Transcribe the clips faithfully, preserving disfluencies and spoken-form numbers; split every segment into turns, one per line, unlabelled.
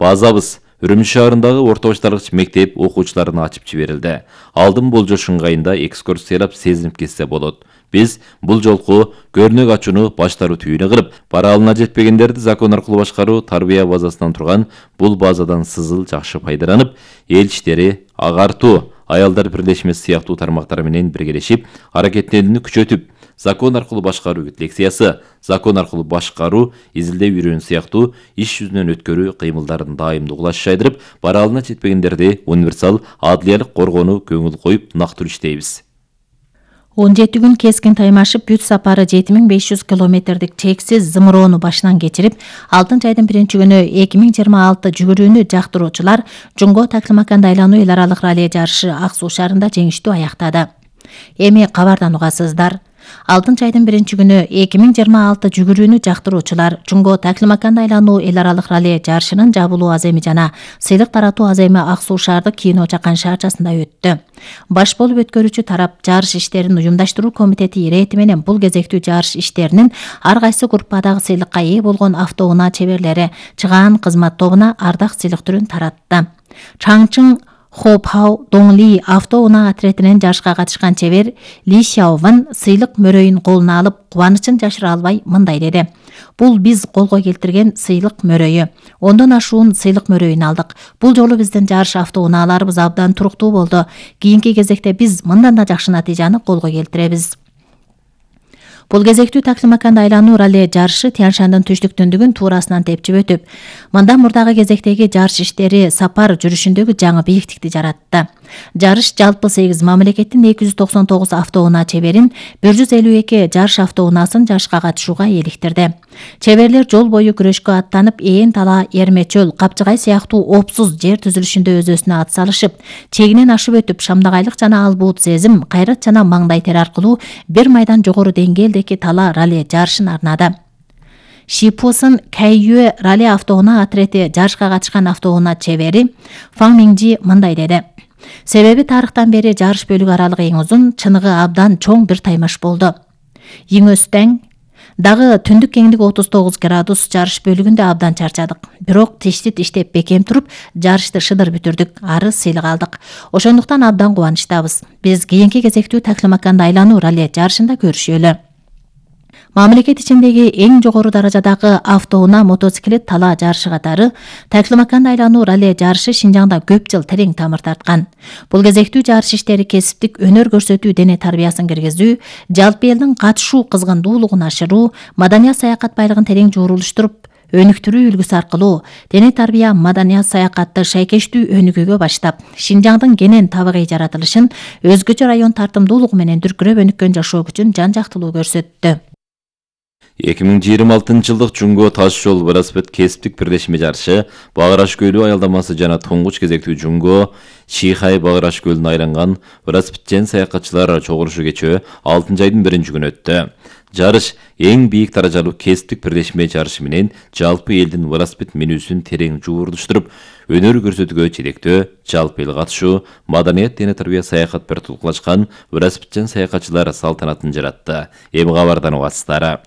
Базабыз Үрүмчү шаарындагы орто башталгыч мектеп окуучуларына ачып жиберилди. Алдын болжош ыңгайында экскурсиялап сезинип кетсе болот. Биз бул жолку көрнөк ачууну баштаруу түйүнү кылып, бара алына жетпегендерди закон аркылуу башкаруу тарбия базасынан турган бул базадан сызыл жакшы пайдаланып, эл иштери, агартуу, аялдар бирлешмеси сыяктуу тармактар менен биргелешип, аракеттенүүнү күчөтүп, закон аркылуу башкаруу лекциясы, закон аркылуу башкаруу, изилдөө үйрөнүү сыяктуу иш жүзүнөн өткөрүү кыймылдарын дайымдуу кулаш жайдырып, бара алына жетпегендерди универсал адлиялык коргоону көңүл коюп нактыруу иштейбиз.
он жети күн кескин таймашып, бүт сапары жети миң беш жүз километрдик чексиз зымыроону башынан кечирип, алтынчы айдын биринчи күнү эки миң жыйырма алты жүгүрүүнү жактыруучулар Жунго Таклимакан айлануу эл аралык ралли жарышы Ак Суу шаарында жеңиштүү аяктады. Эми кабардан угасыздар. алтынчы айдын биринчи күнү эки миң жыйырма алты жүгүрүүнү жактыруучулар Жунго Таклимакан айлануу эл аралык ралли жарышынын жабылуу аземи жана сыйлык таратуу аземи Ак Суу шаардык Кино Чакан шаарчасында өттү. Баш болуп өткөрүүчү тарап жарыш иштерин уюмдаштыруу комитети ирэти менен бул кезектүү жарыш иштеринин ар кайсы группадагы сыйлыкка ээ болгон автоунаа чеберлери чыгаан кызмат тобуна ардак сыйлык түрүн таратты. Чаңчың Хопхау Доңли автоунаа отретинен жарышка катышкан чебер Ли Сяован сыйлык мөрөйүн колуна алып, кубанычын жашыра албай мындай деди: "Бул биз колго келтирген сыйлык мөрөйү. Ондон ашуун сыйлык мөрөйүн алдык. Бул жолу биздин жарыш автоунааларыбыз абдан туруктуу болду. Кийинки кезекте биз мындан да жакшы натыйжаны колго келтиребиз." Бул кезектүү Таклимакан айлануу ралли жарышы Тянь-Шандын түштүк түндүгүн туурасынан тепчип өтүп, мындан мурдагы кезектеги жарыш иштери сапар жүрүшүндөгү жаңы бийиктикти жаратты. Жарыш жалпы сегиз мамлекеттин эки жүз токсон тогуз автоунаа чеберин, бир жүз элүү эки жарыш автоунаасын жарышка катышууга ээликтирди. Чеберлер жол бою күрөшкө аттанып, ээн тала, эрме чөл, капчыгай сыяктуу опсуз жер түзүлүшүндө өз-өзүнө ат салышып, чегинен ашып өтүп, шамдагайлык жана албуут сезим, кайрат жана маңдай тер аркылуу бир майдан жогору деңгээлдеги тала ралли жарышын арнады. Шипосын Кайюэ ралли автоунаа отрети жарышка катышкан автоунаа чебери Фаң Минжи мындай деди: "Себеби тарыхтан бери жарыш бөлүгү аралыгы эң узун, чыныгы абдан чоң бир таймаш болду. Йиңөстең дагы түндүк кеңдиги отуз тогуз градус жарыш бөлүгүндө абдан чарчадык. Бирок тиштит иштеп бекем туруп, жарышты шыдыр бүтүрдүк, ары сыйлык алдык. Ошондуктан абдан кубанычтабыз. Биз кийинки кезектүү Таклимаканды айлануу ралли жарышында көрүшөлү." Мамлекет ичиндеги эң жогору даражадагы автоунаа мотоциклет тала жарышы катары Таклимакан айлануу ралли жарышы Шинжаңда көп жыл терең тамыр тарткан. Бул кезектүү жарыш иштери кесиптик өнөр көрсөтүү, дене тарбиясын киргизүү, жалпы элдин катышуу кызгындуулугун ашыруу, маданият саякат байлыгын терең жуурулуштуруп, өнүктүрүү үлгүсү аркылуу дене тарбия маданият саякатты шайкештүү өнүгүүгө баштап, Шинжаңдын кенен табигый жаратылышын өзгөчө район тартымдуулугу менен дүркүрөп өнүккөн жашоо күчүн жан-жактылуу көрсөттү.
эки миң жыйырма алтынчы жылдык Жунго таш жол велосипед кесиптик бирлешме жарышы Багыраш көлү аялдамасы жана туңгуч кезектүү Жунго Чихай Багыраш көлүнө айланган велосипедчен саякатчылар чогулушу кечөө алтынчы айдын биринчи күнү өттү. Жарыш эң бийик даражалуу кесиптик бирлешме жарышы менен жалпы элдин велосипед минүүсүн терең жуурулуштуруп, өнөр көрсөтүүгө жетектөө, жалпы эл катышуу, маданият, дене тарбия саякат бир тулкулашкан велосипедчен саякатчылар салтанатын жаратты. Эми кабардан угасыздар.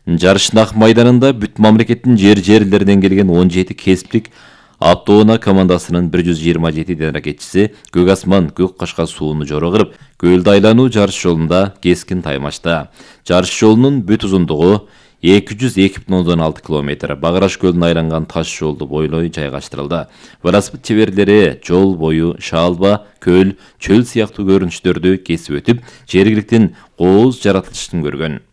Жарыштын ак майданында бүт мамлекеттин жер жерлеринен келген он жети кесиптик автоунаа командасынын бир жүз жыйырма жети аракетчиси көк асман, көк кашка сууну жоро кырып, көлдү айлануу жарыш жолунда кескин таймашты. Жарыш жолунун бүт узундугу эки жүз эки бүтүн ондон алты километр Багыраш көлүнө айланган таш жолду бойлой жайгаштырылды. Велосипед чеберлери жол бою шаалба, көл, чөл сыяктуу көрүнүштөрдү кесип өтүп, жергиликтин кооз жаратылышын көргөн.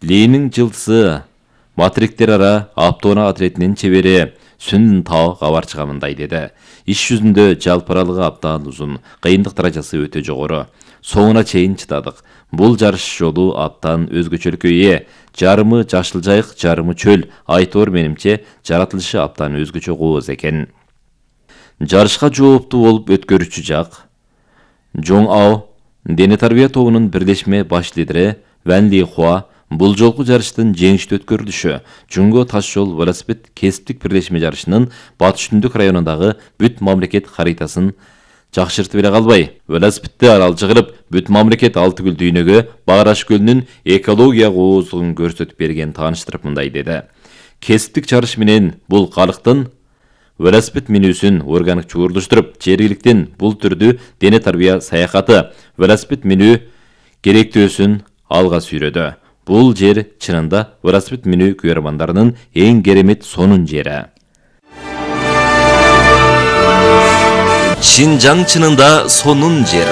Линин жылдысы матриктер ара автоунаа отретинин чебери Сүн Тао кабар чыгамындай деди. Иш жүзүндө жалпы аралыгы абдан узун, кыйындык даражасы өтө жогору. Соңуна чейин чыдадык. Бул жарыш жолу абдан өзгөчөлүккө ээ. Жарымы жашыл жайык, жарымы чөл. Айтор менимче жаратылышы абдан өзгөчө кооз экен. Жарышка жооптуу болуп өткөрүүчү жак Жоң Ао, дене тарбия тобунун бирлешме баш лидери Ван Ли Хуа бул жолку жарыштын жеңиштүү өткөрүлүшү Жунго таш жол велосипед кесиптик бирлешме жарышынын батыш түндүк районундагы бүт мамлекет харитасын жакшыртып эле калбай, велосипедди аралчы кылып, бүт мамлекет алты гүл дүйнөгө Багыраш көлүнүн экология кооздугун көрсөтүп берген тааныштырып мындай деди. Кесиптик жарыш менен бул калктын велосипед минүүсүн органик чуурдуштуруп, жергиликтин бул түрдүү дене тарбия саякаты велосипед минүү керектөөсүн алга сүйрөдү. Бул жер чынында велосипед минүү күйөрмандарынын эң керемет сонун жери.
Шинжаң чынында сонун жер.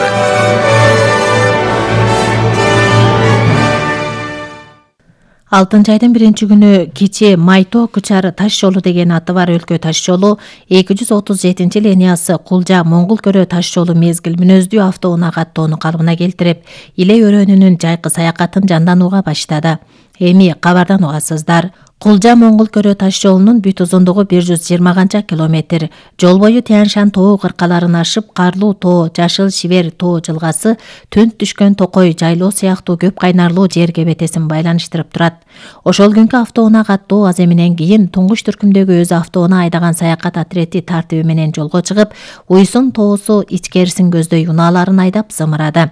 алтынчы айдын биринчи күнү кичи Майто Кучар таш жолу деген аты бар өлкө таш жолу эки жүз отуз жетинчи линиясы Кулжа Моңгол көрө таш жолу мезгил мүнөздүү автоунаа каттоону калыбына келтирип, Иле өрөөнүнүн жайкы саякатын жанданууга баштады. Эми кабардан угасыздар. Кулжа Моңгол көрө таш жолунун бүт узундугу бир жүз жыйырма канча километр. Жол бою Тянь-Шань тоо кыркаларын ашып, Карлуу тоо, Жашыл Шибер тоо жылгасы, Түнт түшкөн Токой жайлоо сыяктуу көп кайнарлуу жер кебетесин байланыштырып турат. Ошол күнкү автоунаа каттоо аземинен кийин туңгуч түркүмдөгү өзү автоунаа айдаган саякат отрети тартиби менен жолго чыгып, Уйсун тоосу ичкерисин көздөй унааларын айдап зымырады.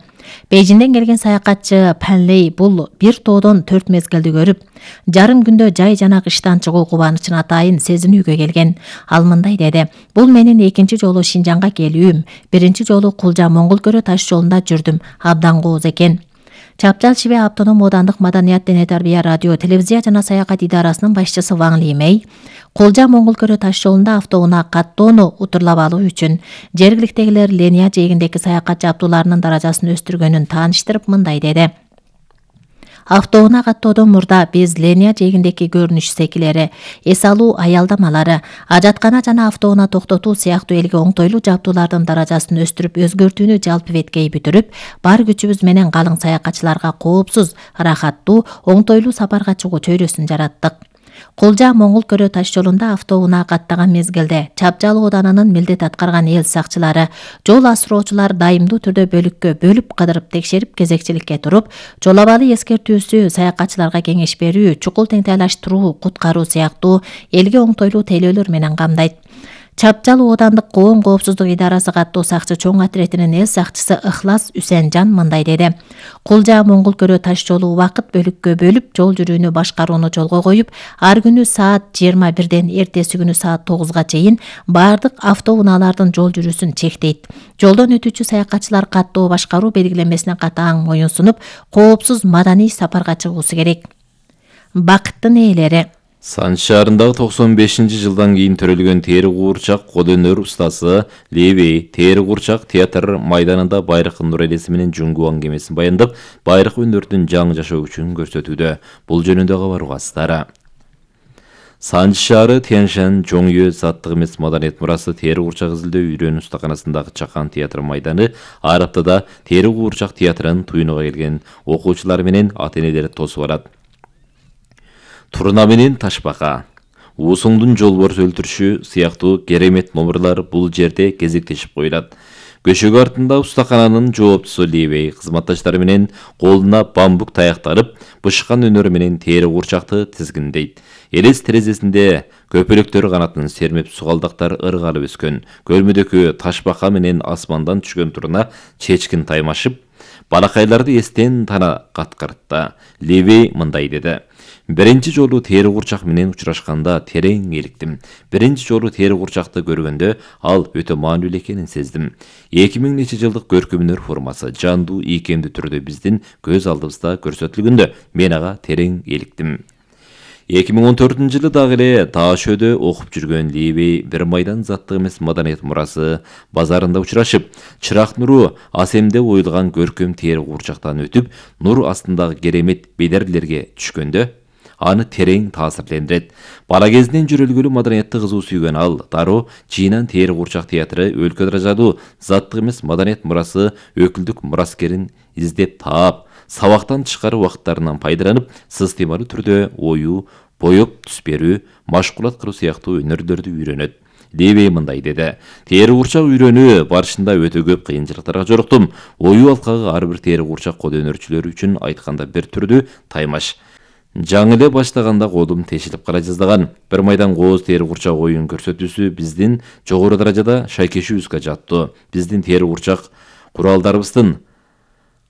Бейжиңден келген саякатчы Панлей бул бир тоодон төрт мезгилди көрүп, жарым күндө жай жана кыштан чыгуу кубанычын атайын сезинүүгө келген. Ал мындай деди: "Бул менин экинчи жолу Шинжаңга келүүм. Биринчи жолу Кулжа Моңгол көрө таш жолунда жүрдүм. Абдан кооз экен." Чапчал Чибе автоном оодандык маданият дене тарбия радио, телевизия жана саякат идарасынын башчысы Ваң Лимей Кулжа Моңгол көрө таш жолунда автоунаа каттоону утурлап алуу үчүн жергиликтегилер линия жээгиндеги саякат жабдууларынын даражасын өстүргөнүн тааныштырып мындай деди: Автоунаа каттоодон мурда биз линия жээгиндеги көрүнүш секилери, эс алуу аялдамалары, ажаткана жана автоунаа токтотуу сыяктуу элге оңтойлуу жабдуулардын даражасын өстүрүп өзгөртүүнү жалпы беткей бүтүрүп, бар күчүбүз менен калың саякатчыларга коопсуз, ырахаттуу, оңтойлуу сапарга чыгуу чөйрөсүн жараттык. Кулжа Моңгол көрө таш жолунда автоунаа каттаган мезгилде Чапчал ооданынын милдет аткарган эл сакчылары, жол асыроочулар дайымдуу түрдө бөлүккө бөлүп кыдырып текшерип кезекчиликке туруп, жол абалы эскертүүсү, саякатчыларга кеңеш берүү, чукул теңтайлаштыруу, куткаруу сыяктуу элге оңтойлуу тейлөөлөр менен камдайт. Чапчал оодандык коом коопсуздук идарасы каттоо сакчы чоң отретинин эл сакчысы Ыхлас Үсенжан мындай деди: Кулжа Моңгол көрө таш жолу убакыт бөлүккө бөлүп, жол жүрүүнү башкарууну жолго коюп, ар күнү саат жыйырма бирден эртеси күнү саат тогузга чейин бардык автоунаалардын жол жүрүүсүн чектейт. Жолдон өтүүчү саякатчылар каттоо башкаруу белгилемесине катаң моюн сунуп, коопсуз маданий сапарга чыгуусу керек. Бакыттын ээлери.
Санч шаарындагы токсон бешинчи жылдан кийин төрөлгөн тери куурчак кол өнөр устасы Левей тери куурчак театр майданында байракын нур элеси менен Жунгу аңгемесин баяндап, байрак өнөрдүн жаңы жашоо күчүн көрсөтүүдө. Бул жөнүндө кабар угасыздар. Санч шаары Тянь-Шань Жоңё саттык эмес маданият мурасы тери куурчак изилдөө үйрөнүү устаканасындагы Чакан театр майданы ар аптада тери куурчак театрын туйнуга келген окуучулар менен ата-энелери тосуп барат. Турна менен ташбака, уусуңдун жолборс өлтүрүшү сыяктуу керемет номерлар бул жерде кезектешип коюлат. Көшөгө артында устакананын жооптусу Левей кызматташтары менен колуна бамбук таяктарып, бышкан өнөрү менен тери куурчакты тизгиндейт. Элес терезесинде көпөлөктөр канатын сермеп сугалдактар ыргалып өскөн. Көлмөдөгү ташбака менен асмандан түшкөн турна чечкин таймашып, балакайларды эстен тана каткартты. Левей мындай деди: Биринчи жолу тери куурчак менен учурашканда терең эликтим. Биринчи жолу тери куурчакты көргөндө ал өтө маанилүү экенин сездим. эки миң нече жылдык көркөмдөр формасы жандуу ийкемдүү түрдө биздин көз алдыбызда көрсөтүлгөндө мен ага терең эликтим. эки миң он төртүнчү жылы дагы эле таш өдө окуп жүргөн Левей бир майдан заттык эмес маданият мурасы базарында учурашып, чырак нуру асемде оюлган көркөм тери куурчактан өтүп, нур астындагы керемет бедерлерге түшкөндө аны терең таасирлендирет. Бала кезинен жүрөлгүлүү маданиятты кызуу сүйгөн ал дароо Жыйнан тери куурчак театры өлкө даражадуу заттык эмес маданият мурасы өкүлдүк мураскерин издеп таап, сабактан тышкары убакыттарынан пайдаланып, сыстыймалуу түрдө оюу, боеп түс берүү, машкулат кылуу сыяктуу өнөрлөрдү үйрөнөт. Левей мындай деди: Тери куурчак үйрөнүү барышында өтө көп кыйынчылыктарга жоруктум. Оюу алкагы ар бир тери куурчак кол өнөрчүлөрү үчүн айтканда бир түрдүү таймаш. Жаңы эле баштаганда колум тешилип кала жаздаган. Бир майдан кооз тери куурчак оюн көрсөтүүсү биздин жогору даражада шайкешүүбүзгө жаттуу. Биздин тери куурчак куралдарыбыздын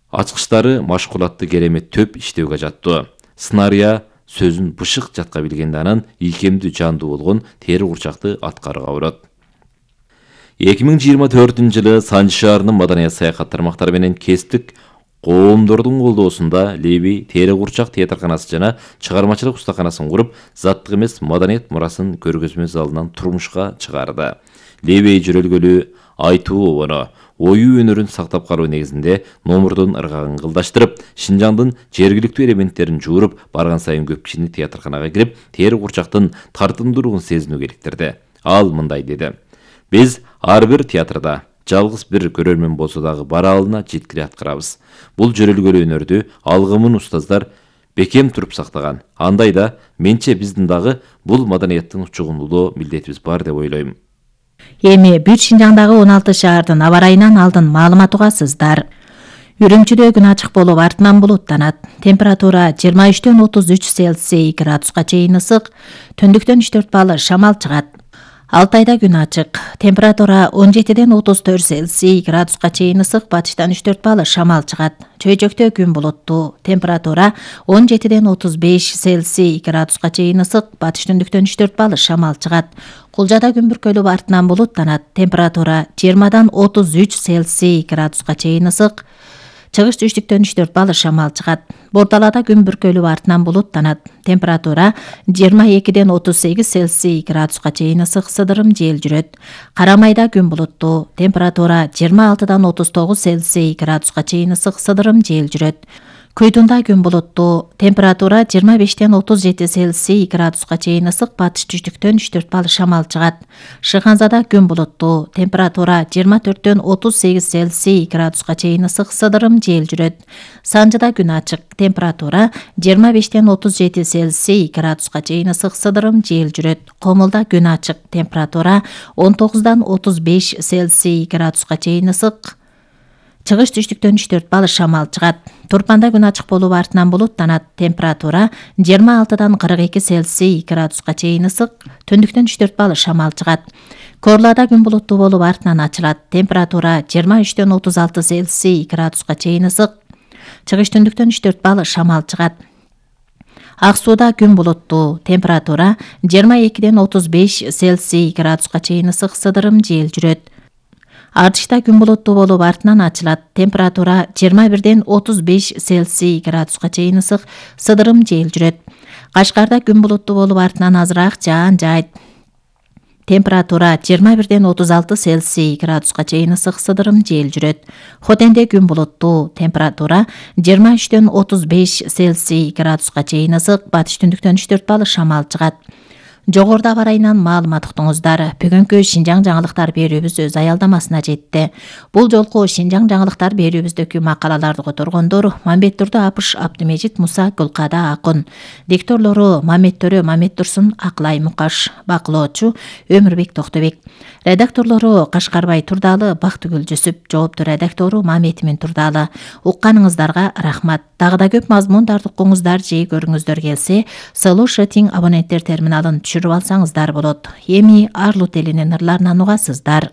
ачкычтары машкулатты керемет төп иштөөгө жаттуу. Сценария сөзүн бышык жатка билгенде анан ийкемдүү жандуу болгон тери курчакты аткарууга урат. эки миң жыйырма төртүнчү жылы Санжы шаарынын маданият саякат тармактары менен кесиптик коомдордун колдоосунда Леви тери курчак театрканасы жана чыгармачылык устаканасын куруп, заттык эмес маданият мурасын көргөзмө залынан турмушка чыгарды. Леви жүрөлгөлү айтуу обону, оюу өнөрүн сактап калуу негизинде номурдун ыргагын кылдаштырып, Шинжаңдын жергиликтүү элементтерин жууруп, барган сайын көп кишини театрканага кирип, тери курчактын тартымдуулугун сезинүүгө иликтирди. Ал мындай деди: "Биз ар бир театрда жалгыз бир көрөрмөн болсо дагы бараалына жеткире аткарабыз. Бул жөрөлгөлүү өнөрдү алгымын устаздар бекем туруп сактаган. Андайда менче биздин дагы бул маданияттын чугундулоо милдетибиз бар деп ойлойм."
Эми бүт Шинжаңдагы он алты шаардын аба ырайынан алдын маалымат угасыздар. Үрүмчүдө күн ачык болуп, артынан булуттанат. Температура жыйырма үчтөн отуз үч Цельсий градуска чейин ысык, түндүктөн үч төрт балл шамал чыгат. Алтайда күн ачык. Температура он жетиден отуз төрт Цельсий градуска чейин ысык, батыштан үч төрт балл шамал чыгат. Чөйжөктө күн булуттуу. Температура он жетиден отуз беш Цельсий градуска чейин ысык, батыш түндүктөн үч төрт балл шамал чыгат. Кулжада күн бүркөлүп, артынан булуттанат. Температура жыйырмадан отуз үч Цельсий градуска чейин ысык, чыгыш түштүктөн үч төрт балл шамал чыгат. Бордалада күн бүркөлүп, артынан булуттанат. Температура жыйырма экиден отуз сегиз Цельсий градуска чейин ысык, сыдырым жел жүрөт. Карамайда күн булуттуу. Температура жыйырма алтыдан отуз тогуз Цельсий градуска чейин ысык, сыдырым жел жүрөт. Күйдүндө күн булуттуу. Температура жыйырма бештен отуз жети Цельсий градуска чейин ысык, батыш түштүктөн үч төрт балл шамал чыгат. Шыханзада күн булуттуу. Температура жыйырма төрттөн отуз сегиз Цельсий градуска чейин ысык, сыдырым жел жүрөт. Санжыда күн ачык. Температура жыйырма бештен отуз жети Цельсий градуска чейин ысык, сыдырым жел жүрөт. Комулда күн ачык. Температура он тогуздан отуз беш Цельсий градуска чейин ысык, чыгыш түштүктөн үч төрт балл шамал чыгат. Турпанда күн ачык болуп, артынан булуттанат. Температура жыйырма алтыдан кырк эки Цельсий градуска чейин ысык, түндүктөн үч төрт балл шамал чыгат. Корлада күн булуттуу болуп, артынан ачылат. Температура жыйырма үчтөн отуз алты Цельсий градуска чейин ысык, чыгыш түндүктөн үч төрт балл шамал чыгат. Ак сууда күн булуттуу. Температура жыйырма экиден отуз беш Цельсий градуска чейин ысык, сыдырым жел жүрөт. Артышта күн булуттуу болуп, артынан ачылат. Температура жыйырма бирден отуз беш Цельсий градуска чейин ысык, сыдырым жел жүрөт. Кашкарда күн булуттуу болуп, артынан азыраак жаан жайт. Температура жыйырма бирден отуз алты Цельсий градуска чейин ысык, сыдырым жел жүрөт. Хотенде күн булуттуу. Температура жыйырма үчтөн отуз беш Цельсий градуска чейин ысык, батыш түндүктөн үч төрт балл шамал чыгат. Жогоруда аба ырайынан маалымат уктуңуздар. Бүгүнкү Шинжаң жаңылыктар берүүбүз өз аялдамасына жетти. Бул жолку Шинжаң жаңылыктар берүүбүздөгү макалаларды которгондор Мамбеттурду Апыш Абдымежит Муса Гүлкада Акын, дикторлору Мамет Төрө Мамет Турсун Аклай Мукаш, бакылоочу Өмүрбек Токтобек, редакторлору Кашкарбай Турдалы Бактыгүл Жүсүп, жоопту редактору Мамет Турдалы. Укканыңыздарга рахмат. Дагы да көп мазмундарды укуңуздар же көрүңүздөр келсе, Сылуу Шетиң абоненттер терминалын түшүрүп алсаңыздар болот. Эми Арлут элинин ырларынан угасыздар.